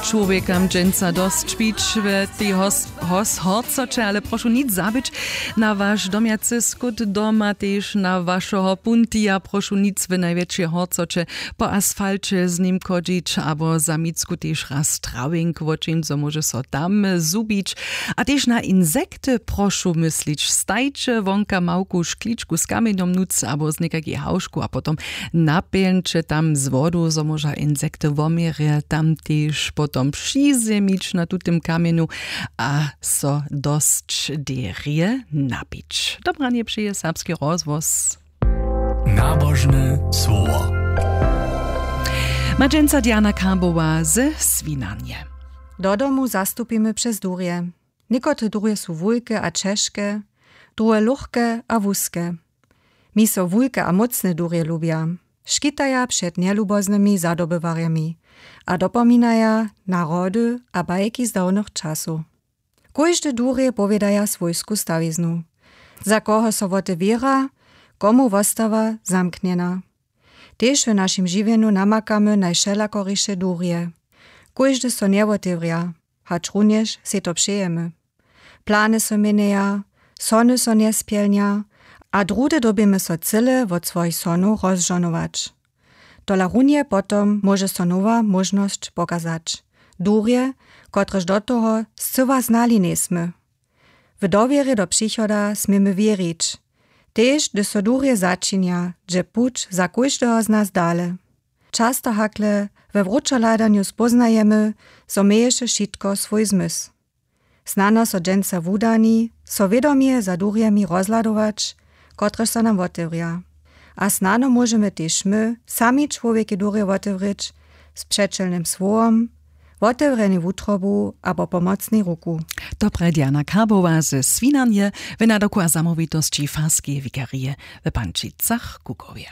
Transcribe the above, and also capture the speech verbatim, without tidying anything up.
Čłowjekam dźensa dosć pić w tej hos- hos- horcoće, ale prošu nic zabyć. Na waš domjacy skót doma tež na wašeho puntija prošu nic w najwjetšej horcoće po asfalće z nim chodźić abo za micku tež raz trawink, wo čim zo móže so tam zhubić. A tež na insekty prošu myslić. Stajće wonka małku škličku z kamjenjom nutř abo z někajkej hałžku a potom napjeńće tam z wodu, zo móža insekty woměrje tam tež potom přizjemić na tutym kamjenju a so dosć derje napić. Dobranje přeje Serbski rozhłos. Nabožne słowo. Ma dźensa Diana Karbowa ze Swinarnje. Do domu zastupimy přez durje. Někotre durje su wulke a ćežke, druhe lóchke a wuske. Mi so wulke a mócne durje lubja. Škitaja před njeluboznymi zadobywarjemi a dopominaja na rody a bajki z dawnych časow. Kóžde durje powědaja swójsku stawiznu. Za koho so wote wěra, komu wostawa zamknjena. Tež w našim žiwjenju namakamy najwšelakoriše durje. Kóžde so njewotewrja, hačrunjež sej to přejemy. Plany so měnjeja, sony so njespjelnja a druhdy dyrbimy so cyle wot swojich sonow rozžohnować. Tola runje potom móže so nowa móžnosć pokazać. Durje, kotrež do toho scyła znali njejsmy. W dowěrje do přichoda směmy wěrić, tež hdyž so durje začinja, dźe puć za kóždeho z nas dale. Často hakle we wróćohladanju spóznajemy, zo měješe wšitko swój zmysł. Snano so dźensa wudani, so wědomje za durjemi rozhladować, kotrež so nam wotewrja. A snano móžemy tež my sami čłowjekej durje wotewrěć z přećelnym słowom, wotewrjenej wutrobu abo pomocnej ruku. To prje Diana Karbowa ze Swinarnje w nadoku a zamołwitosći farskeje wikarije w Pančicach-Kukowje.